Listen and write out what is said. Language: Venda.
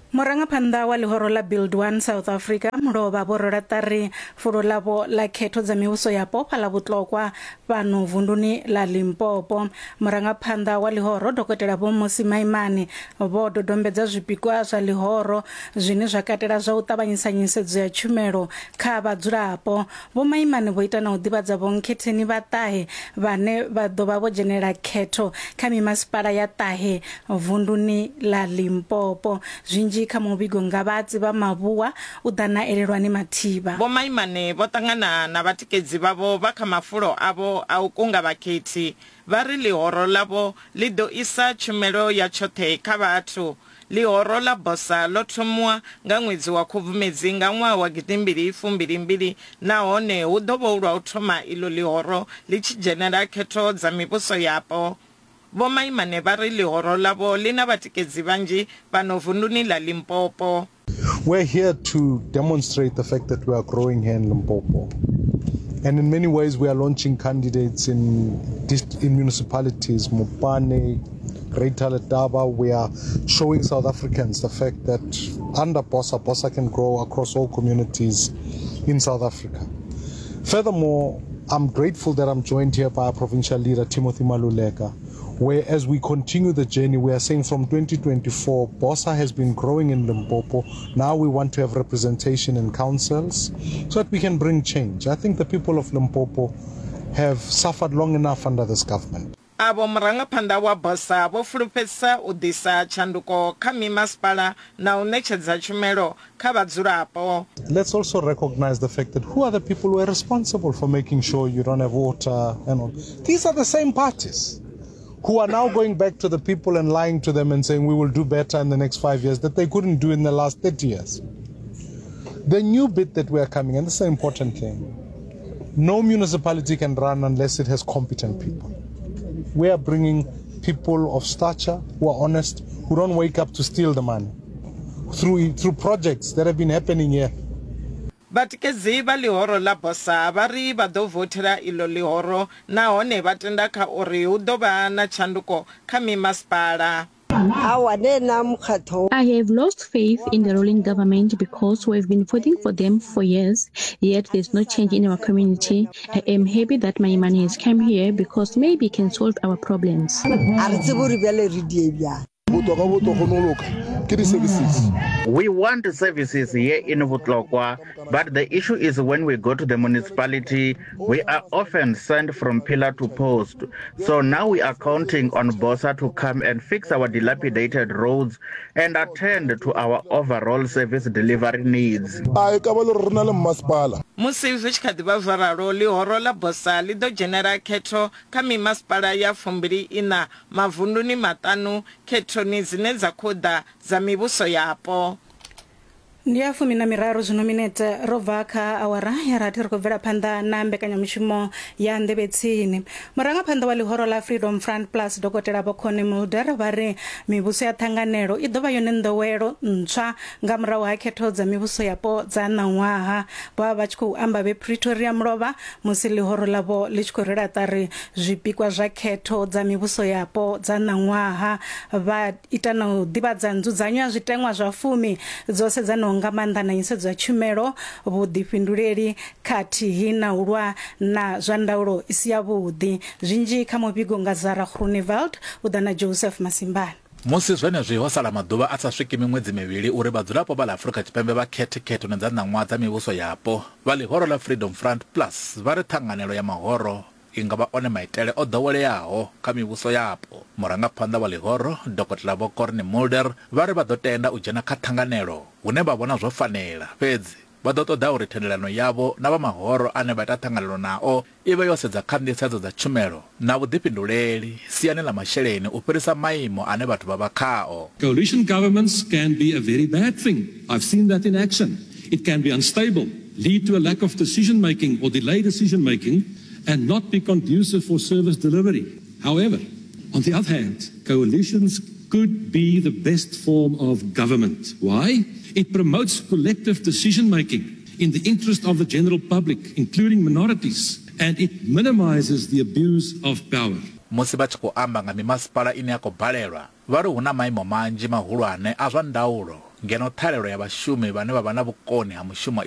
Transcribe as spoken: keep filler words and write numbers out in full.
Murangaphanḓa wa ḽihoro ḽa Build One South Africa mulovha vho rwela ṱari fulo ḽavho ḽa khetho dza mivhuso yapo fhaḽa Vhutlokwa fhano vunduni ḽa Limpopo. Murangaphanḓa wa ḽihoro Dokotela Vho Mmusi Maimane vho dodombedza zwipikwa zwa ḽihoro zwine zwa katela zwa u ṱavhanyisa nyisedzo ya tshumelo kha vhadzulapo. Vho Maimane vho ita na u ḓivhadza vhonkhetheni vha ṱahe vhane vha ḓo vha vho dzhenela khetho kha mimasipala ya ṱahe vunduni ḽa Limpopo. Zwinzhi kha muvhigo nga vhatsi vha Mavhua u ḓa na Elelwani Mathivha. Vho Maimane vho ṱangana na vhatikedzi vhavho vha kha mafulo avho a u kunga vhakhethi, vha ri ḽihoro ḽavho ḽi ḓo isa tshumelo ya tshoṱhe kha vhathu. Ḽihoro ḽa BOSA ḽo thomiwa nga ṅwedzi wa Khubvumedzi nga ṅwaha wa gidimbili fumbili-mbili nahone hu ḓo vha hu lwa u thoma iḽo ḽihoro ḽi tshi dzhenela khetho dza mivhuso yapo. Vho Maimane vha ri ḽihoro ḽavho ḽi na vhatikedzi vhanzhi fhano vunduni ḽa Limpopo. We're here to demonstrate the fact that we are growing here in Limpopo. And in many ways we are launching candidates in, in municipalities, Mopani, Greater Letaba. We are showing South Africans the fact that under BOSA, BOSA can grow across all communities in South Africa. Furthermore, I'm grateful that I'm joined here by our provincial leader, Timothy Maluleka, where as we continue the journey, we are saying from twenty twenty-four, BOSA has been growing in Limpopo. Now we want to have representation in councils so that we can bring change. I think the people of Limpopo have suffered long enough under this government. Avho murangaphanḓa wa BOSA vho fulufhedzisa u ḓisa tshanduko kha mimasipala na u ṋetshedza tshumelo kha vhadzulapo. Let's also recognize the fact that who are the people who are responsible for making sure you don't have water and all. These are the same parties who are now going back to the people and lying to them and saying we will do better in the next five years that they couldn't do in the last thirty years. The new bit that we are coming, and this is an important thing, no municipality can run unless it has competent people. We are bringing people of stature who are honest, who don't wake up to steal the money through, through projects that have been happening here. Vhatikedzi vha ḽihoro ḽa BOSA vha ri vha ḓo vothela iḽo ḽihoro nahone vha tenda kha uri hu ḓo vha na tshanduko kha mimasipala. I have lost faith in the ruling government because we've been voting for them for years, yet there's no change in our community. I am happy that Maimane has come here because maybe he can solve our problems. We want services here in Vutlokwa, but the issue is when we go to the municipality, we are often sent from pillar to post. So now we are counting on BOSA to come and fix our dilapidated roads and attend to our overall service delivery needs. Musi zwi tshi kha ḓi vha zwo ralo, ḽihoro ḽa BOSA ḽi ḓo dzhenela khetho kha mimasipala ya fumbili ina mavunduni maṱanu khethoni dzine dza khou ḓa dza mivhuso yapo. Ndi ya fumi na miraru zwino minete ro bva kha awara ya rathi ri khou bvela phanḓa na mbekanyamushumo ya nḓevhe tsini. Murangaphanḓa wa ḽihoro ḽa Freedom Front Plus Dokotela Vho Connie Mulder vha ri mivhuso ya ṱhanganelo i ḓo vha yone nḓowelo ntswa nga murahu ha khetho dza mivhuso yapo dza ṋaṅwaha. Vho vha vha tshi khou amba vhe Pretoria mulovha musi ḽihoro ḽavho ḽi tshi khou rwela ṱari zwipikwa zwa khetho dza mivhuso yapo dza ṋaṅwaha. Vha ita na u ḓivhadza nzudzanyo ya zwiteṅwa zwa fumi dzo sedzanaho nga maanḓa na nyisedzo ya tshumelo, vhuḓifhinduleli khathihi na u lwa na zwa ndaulo i si yavhuḓi. Zwinzhi kha muvhigo nga Zara Groenewald u ḓa na Joseph Masimbane. Musi zwenezwi ho sala maḓuvha a sa swiki miṅwedzi mivhili uri vhadzulapo vha ḽa Afrika Tshipembe vha khethe khethoni dza ṋaṅwaha dza mivhuso yapo, vha ḽihoro ḽa Freedom Front Plus vha ri ṱhanganelo ya mahoro i nga vha one maitele o ḓoweleaho kha mivhuso yapo. Murangaphanḓa wa ḽihoro Dokotela Vho Corne Mulder vha ri vha ḓo tenda u dzhena kha ṱhanganelo hune vha vhona zwo fanela, fhedzi vha ḓo ṱoḓa uri thendelano yavho na vha mahoro ane vha ita ṱhanganelo nao i vhe yo sedza kha nḓisedzo dza tshumelo na vhuḓifhinduleli siani ḽa masheleni u fhirisa maimo ane vhathu vha vha khao. Coalition governments can be a very bad thing. I've seen that in action. It can be unstable, lead to a lack of decision making or delay decision making, and not be conducive for service delivery. However, on the other hand, coalitions could be the best form of government. Why? It promotes collective decision-making in the interest of the general public, including minorities, and it minimizes the abuse of power. Musi vha tshi khou amba nga mimasipala ine ya khou balelwa, vha ri hu na maimo manzhi mahulwane a zwa ndaulo ngeno ṱhahelelo ya vhashumi vhane vha vha na vhukoni ha mushumo